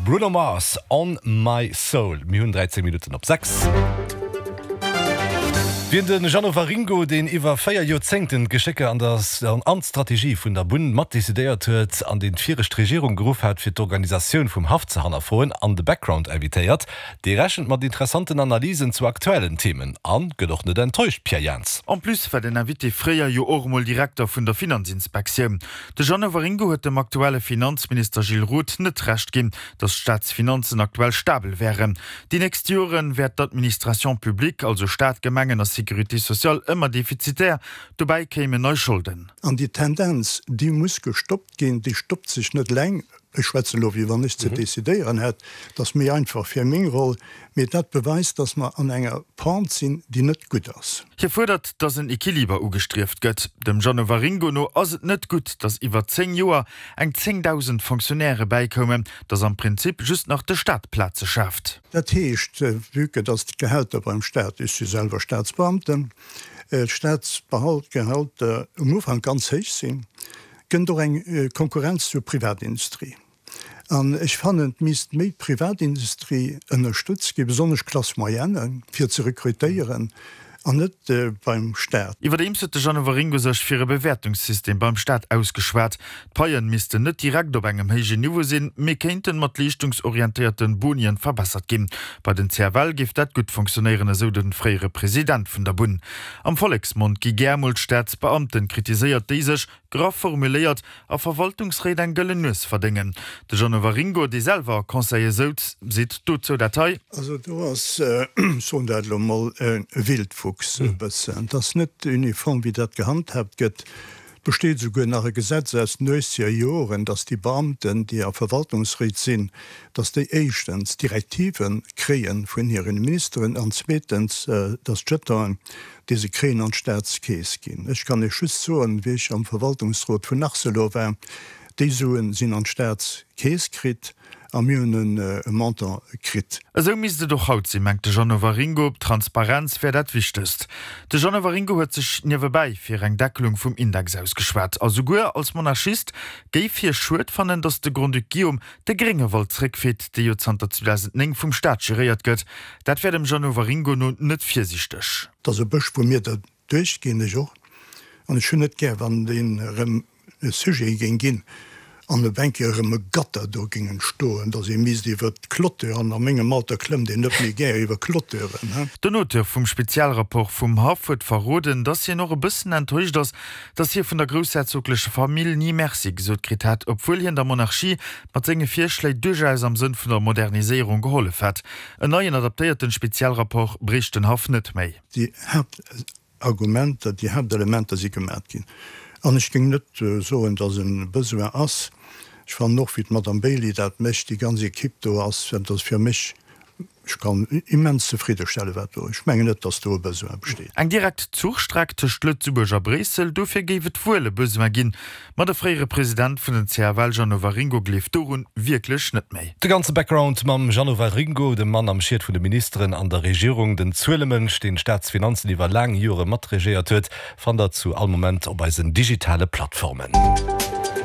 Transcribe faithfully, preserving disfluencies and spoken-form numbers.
Bruno Mars, On My Soul. Mir hunn dräizéng Minutten op sechs. Wien de Jeannot Waringo, deen iwwer véier Joerzéngten d'Geschécker an der an d'Strategie vun der Bunn mat decidéiert huet an deen d'viregt Regierung geruff hat fir d'Organisatioun vum Haff ze hannerfroen, an de Background invitéiert, dee rechent mat interessanten Analysen zu aktuellen Themen an gëtt och net enttäuscht. Pierre Jans. En plus war den Invité fréier jo och emol Direkter vun der Finanzinspektioun. De Jeannot Waringo huet dem aktuelle Finanzminister Gilles Roth net Recht ginn, datt d'Staatsfinanzen aktuell stabel wären. Déi nächst Joren wäert d'Administration publique, also Staat, Gemengen a Sécurité sociale, ëmmer defizitär, dobäi kéimen nei Scholden. An déi Tendenz, déi muss gestoppt ginn, déi stoppt sech net eleng, ech schwätzen elo wéi wann ech ze decidéieren hätt, dat ass méi einfach fir meng Roll, mee dat beweist, dass mer an enger Pente sinn, déi net gutt ass. Hie fuerdert, dass en Equiliber ugestrieft gëtt. Dem Jeannot Waringo no ass et net gutt, dass iwwer zéng Joer eng zéngdausend Fonctionnairë bäikoumen, dass am Prinzip just nach de Staat Plaze schaaft. Dat heescht, vue que dass d'Gehälter beim Staat, ech si selwer Staatsbeamten, d'Staatsgehälter um Ufank ganz héich sinn, kënnt och eng Konkurrenz zur Privatindustrie. An ech fannen, et misst méi d'Privatindustrie ënnerstëtzt ginn, besonnesch d'Classe moyenne, fir ze rekrutéieren, an net beim Staat. Iwwerdeems huet de Jeannot Waringo sech fir e Bewäertungssystem beim Staat ausgeschwat. D'Paien missten net direkt op engem héijen Niveau sinn, mee kéinten mat leeschtungsorientéierten Bonien verbessert ginn. Bei den C F L géif dat gutt funktionéieren, esou de fréiere President vun der Bunn. Am Volleksmond gi gär mol d'Staatsbeamten kritiséiert, déi sech, graff formuléiert, a Verwaltungsréit eng gëllen Nues verdéngen. De Jeannot Waringo, dee selwer a Conseile souz, seet dozou dat hei. Also do ass, ech soen dat elo mol, e Wildwuchs e bëssen. Et ass net uniform, wéi dat gehandhaabt gëtt. Et besteet esouguer nach e Gesetz aus den uechzeger Joren, datt déi Beamten, déi a Verwaltungsréit sinn, datt déi éischtens Direktive kréie vun hire Ministeren an zweetens, datt d'Jetonen, déi se kréien, an d'Staatskeess ginn. Ech kann Iech just soen, wéi ech am Verwaltungsrot vun Arcelor war, déi Suen sinn an d'Staatskeess kritt a mir hunn e Montant kritt. Esou misst et och haut sinn, mengt de Jeannot Waringo. Transparenz wär dat Wichtegst. De Jeannot Waringo huet sech niewebäi fir eng Deckelung vum Index ausgeschwat. A souguer als Monarchist géif hie schued fannen, datt de Grand-Duc Guillaume de Gréngewald zréckfeet, dee jo zanter zweedausendnéng vum Staat geréiert gëtt. Dat wär dem Jeannot Waringo no net virsiichteg. Et ass e Bësch, wou mir derduerch ginn, ech och, an ech hunn net gär, wann deen erëm e Sujet géing ginn an op eng Kéier erëm e Gatter do géing entstoen, datt ee misst iwwer d'Clôture, an a mengem Alter klëmmt een net méi gär iwwer Clôturen, he. Den Auteur vum Spezialrapport vum Haff huet verroden, datt hien och e bëssen enttäuscht ass, datt hie vun der groussherzoglecher Famill ni Merci gesot kritt hätt, obwuel hien der Monarchie mat senge Virschléi duerchaus am Sënn vun der Moderniséierung gehollef hätt. En neien adaptéierten Spezialrapport bréicht den Haff net méi. Déi Haaptargumenter, déi Haaptelementer si gemat ginn. An ech géing net soen, datt e Besoin ass. Ech fannen och, wéi d'Madame Bailey dat mécht, déi ganz Equipe do ass, dat ass fir mech, ech kann immens zefriddestellen, wat do, ech mengen net, datt do e Besoin besteet. Eng direkt Zuchstreck tëscht Lëtzebuerg a Bréissel, dofir géif et wuel e Besoin ginn. Ma de fréiere President vun den C F L Jeannot Waringo gleeft dorun wierklech net méi. De ganze Background mam Jeannot Waringo, dem Mann am Schiet vun de Ministeren an der Regierung, den Zuelemënsch, deen d'Staatsfinanzen iwwer laang Jore matregéiert huet, fannt der zu all Moment op eisen digitale Plattformen.